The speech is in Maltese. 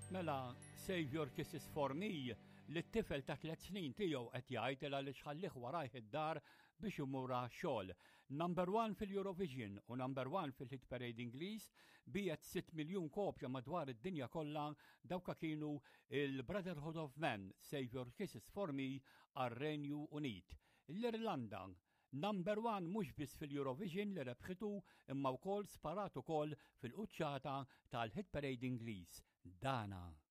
Mela, Save Your Kisses For Me, li t-tifel ta' tlet snin tiegħu qed jgħid il għaliex ħallih warajh id-dar biex imur għax-xogħol. Number one fil-Eurovision u number one fil-Hit Parade Ingliż, biegħet 6 miljun kopja madwar id-dinja kollha dawka kienu il-Brotherhood of Man, Save Your Kisses For Me għar-Renju Unit. L-Irlanda, Number one mhux biss fil-Eurovision li rebħitu imma wkoll sparat ukoll fil-quċċata tal-Hit Parade Ingliż. Dana.